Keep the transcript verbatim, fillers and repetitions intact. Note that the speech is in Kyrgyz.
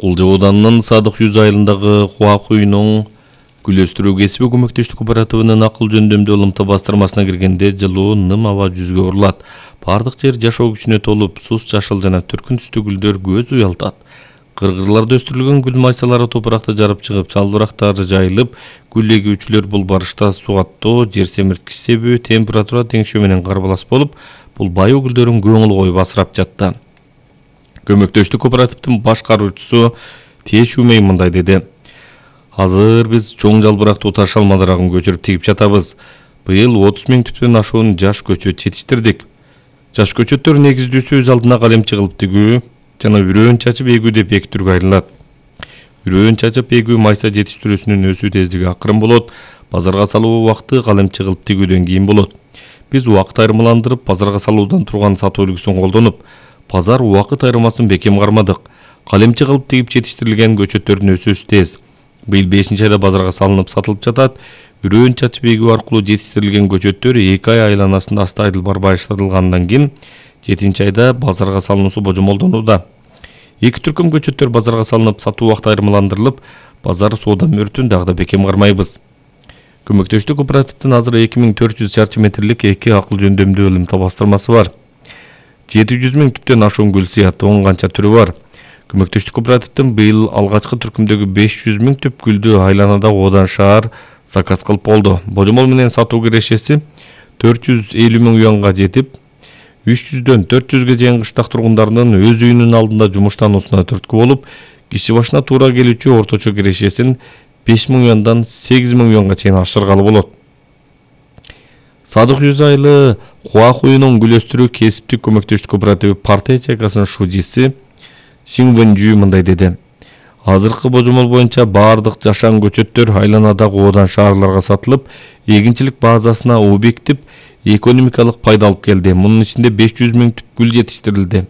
Кулжа ауданынын Садык Юз айылындагы Хуакуйнун гүл өстүрүү кесиби көмөктөштүк кооперативинин акыл жөндөмдүү ылымты бастырмасына киргенде жылуу ным аба жүзгө урулат. Бардык жер жашоо күчүнө толуп, сус жашыл жана түркүн түстүү гүлдөр көз уялтат. Кыргырларда өстүрүлгөн гүл майсалары топуракта жарып чыгып, чалбырактары жайылып, гүл эгүүчүлөр бул барышта суу аттоо, жер семирткич себеби температура теңшөө менен карбалас болуп, бул байуу гүлдөрүн көңүл коюп асырап жатты. Көмөктөштүк кооперативдин башкаруучусу Тешумей мындай деди: Азыр биз чоң жалбырактуу таш алмадарагын көчүрүп тигип жатабыз. Быйыл отуз миң түптөн ашуун жаш көчөт жетиштирдик. Жаш көчөттөр негиздүүсү өз алдына калем чыгылып тигүү жана үрөөн чачып эгүү деп эки түргө айрылат. Үрөөн чачып эгүү майса жетиштирүүсүнүн өсүү тездиги акырын болот, базарга салуу убакыты калем чыгылып тигүүдөн кийин болот. Биз убакыт айырмаландырып, базарга салуудан турган сатуу үлгүсүн колдонуп, базар убакыт айырмасын бекем кармадык. Калем чыгылып тигип жетиштирилген көчөттөрдүн өсүүсү тез. Быйыл бешинчи айда базарга салынып сатылып жатат. Үрөөн чачып эгүү аркылуу жетиштирилген көчөттөр эки ай айланасында астайдылбар башталгандан кийин жетинчи айда базарга салынуусу божомолдонууда. Эки түркүм көчөттөр базарга салынып, сатуу убакыты айырмаландырылып, базар соода мөртүн дагы да бекем кармайбыз. Көмөктөштүк кооперативдин азыр эки миң төрт жүз чарчы метрлик эки акыл жөндөмдүү ылымта бастырмасы бар. жети жүз миң түптөн ашуун гүл сыяттуу он канча түрү бар. Көмөктөштүк кооперативдин быйыл алгачкы түркүмдөгү беш жүз миң түп гүлдү айланада оодан шаар заказ кылып болду. Божомол менен сатуу кирешеси төрт жүз элүү миң юанга жетип, үч жүздөн төрт жүзгө чейин кыштак тургундарынын өз үйүнүн алдында жумуштануусуна түрткү болуп, киши башына туура келүүчү орточо кирешесин беш миң юандан сегиз миң юанга чейин ашыргалы болот. Садык Юз айылы Хуакуйнун гүл өстүрүү кесиптик көмөктөштүк кооперативи партия ячейкасынын шужиси Сиңвэнжүү мындай деди: Азыркы божомол боюнча бардык жашан көчөттөр айланадагы оодан шаарларга сатылып, эгинчилик базасына объектип экономикалык пайда алып келди. Мунун ичинде беш жүз миң түп гүл жетиштирилди.